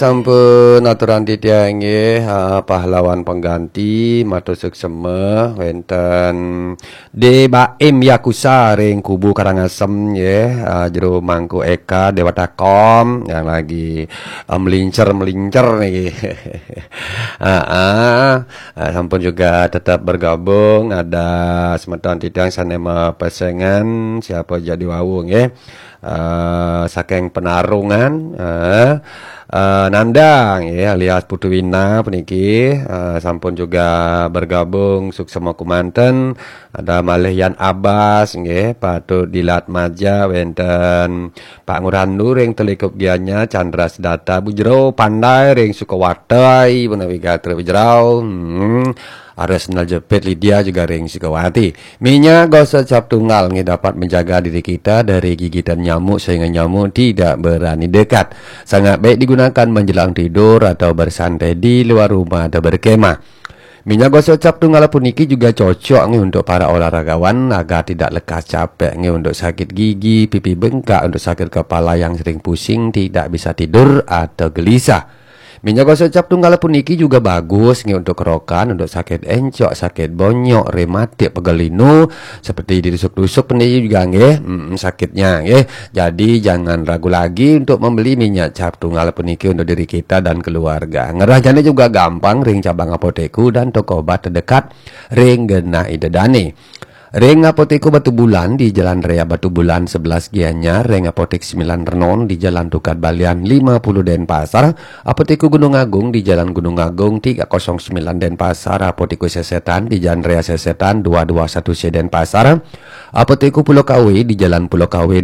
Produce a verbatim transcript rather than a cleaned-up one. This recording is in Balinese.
Sampun aturan titiang nggih, ha, pahlawan pengganti, matur suksema wenten Dé Baim Yakusa ring Kubu Karangasem nggih, ha, Jero Mangku Eka Dewata Kom yang lagi, ha, melincer-melincer niki. Ha, ha. Ha, sampun juga tetap bergabung, ada semeton titiang sané mapesengan, siapa jadi wau nggih. Eh, saking Penarungan, eh, eh, Nanda nggih, alias Putu Wina puniki, eh, sampun juga bergabung suksema kumanten. Ada malih Yan Abbas nggih, patut dilat maja wenten Pak Ngurandu ring Telikup Gianyar, Chandra Sedata, Bu Jero Pandai ring Sukawati, menawi gatra Bu Jero. Hmm. Ada sendal jepit Lydia juga ring Sukawati. Minyak gosok cap tunggal nggih dapat menjaga diri kita dari gigitan nyamuk sehingga nyamuk tidak berani dekat. Sangat baik digunakan menjelang tidur atau bersantai di luar rumah atau berkemah. Minyak gosok cap tunggal puniki juga cocok nggih untuk para olahragawan agar tidak lekas capek nggih untuk sakit gigi, pipi bengkak, untuk sakit kepala yang sering pusing, tidak bisa tidur atau gelisah. Minyak gosok cap tunggal puniki juga bagus nggih untuk kerokan, untuk sakit encok, sakit bonyok, rematik, pegal linu, seperti ditusuk-tusuk puniki juga nggih, mm, sakitnya nggih. Jadi jangan ragu lagi untuk membeli minyak cap tunggal puniki untuk diri kita dan keluarga. Ngerahjane juga gampang ring cabang Apotekku dan toko obat terdekat ring genah Ida Dane. Ring Apotekku Batubulan di Jalan Raya Batubulan sebelas Gianyar, ring Apotek Sembilan Renon di Jalan Tukad Balian lima puluh Denpasar, Apotekku Gunung Agung di Jalan Gunung Agung tiga kosong sembilan Denpasar, Apotekku Sesetan di Jalan Raya Sesetan dua dua satu C Denpasar, Apotekku Pulau Kawe di Jalan Pulau Kawe